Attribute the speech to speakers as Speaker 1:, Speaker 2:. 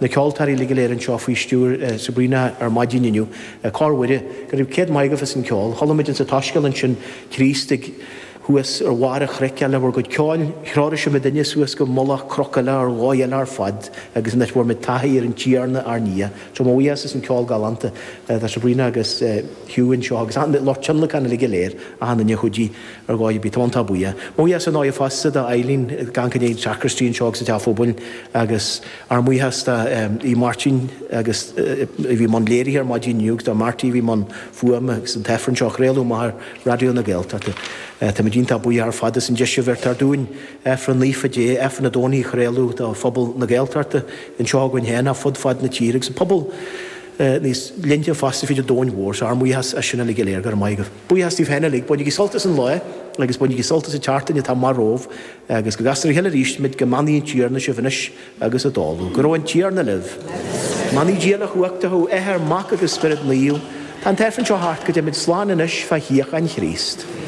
Speaker 1: na ceoltóirí uilig go léir anseo faoi stiúir Sabrina ar maidin inniu. Cór Mhuire, go raibh céad maith agaibh as an ceol. Chuala muid insa tSoiscéal ansin Críost ag thuas ar bharr an chnoic le bhur gcuid ceoil, threoraigh sibh muidinne suas go mullach cnoc eile ar dhóigh eile ar fad agus anois bhfuair muid taithí ar an Tiarna ár nDia. So mo bhuíochas as an ceol galánta do Sabrina agus Hugh anseo agus an lucht tionlacain uilig go léir, achan duine a chuidigh ar dhóigh ar bith. Tá iontach buíoch. Mo bhuíochas ar ndóigh fosta do Eileen ag amharc i ndiaidh an sacristy anseo agus an teach phobail agus ár mbuíochas do Aodh Máirtín agus a bhí i mbun léirithe ar maidin inniu agus do Marty a bhí i mbun fuaime agus an t-Aifreann seo a chraoladh amach ar Raidió na Gaeltachta. Táimid iontach buíoch ar fad as an deis a bheirtear dúinn Aifreann Naofa Dé, Aifreann an Domhnaigh a chraoladh do phobal na Gaeltachta anseo againn féin ach fud fad na tíre agus an pobal níos leithne fosta fríd an domhain mhór. So ár mbuíochas as sin uilig go léir. Go raibh maith agaibh. Buíochas daoibh féin uilig. Bainigí sult as an lá agus bainigí sult as an tseachtain atá amach romhaibh agus go gcastar ar a chéile arís muid go mbeannaí an Tiarna sibh anois agus i dtólamh. Go raibh an Tiarna libh. Beannaí Dia uilechumhachtach thú, Athair, Mac agus Spiorad Naomh. Tá an t-Aifreann seo thart go dté muid slán anois fá shíocháin Chríost.